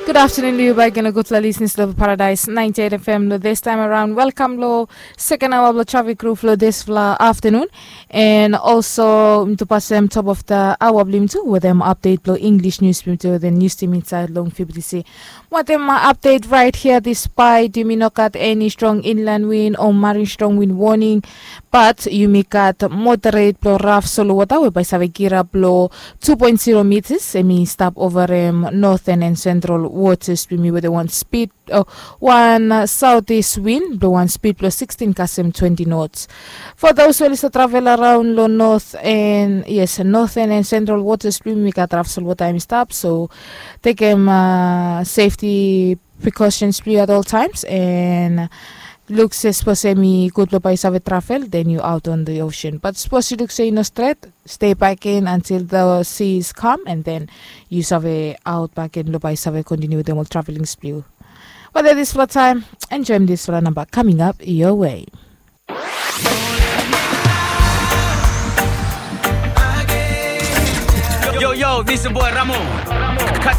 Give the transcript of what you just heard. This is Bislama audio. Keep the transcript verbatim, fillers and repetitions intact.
Gud aftenun long yu baik gen, gudfala lisnis long Paradais ninety eight F M long this time around. Welkam long seken aoa blong trafik ruf long disfala aftenun. And also mi tu pasem top of the aoa blong yumi tu wetem update blong English news blong yumi tu wetem news team inside long F B T C. Wetem update right here, despite yumi no gat eni strong inland wind o marine strong wind warning, but yumi gat moderate blong raf solo wota we bai save girap long two point zero meters, em i stap overem northern and central waters blong yumi wetem wan speed, oh, wan southeast wind blong wan speed blong sixteen kasem twenty knots. For those we oli save travel around long north and, yes, northern and central waters blong yumi gat raf solo wota em i stap, so tekem uh, safety precautions blong yu at all times, and luk se sapos em i gud blong bai yu save travel, then yu out on the ocean. But sapos yu luk se i no stret, stay back in until the seas calm, and then yu save out back in blong bai yu save continue wetem ol travelings blong yu. But at this for time, enjoy this for number coming up your way. Yo, yo, this is boy Ramo. Cut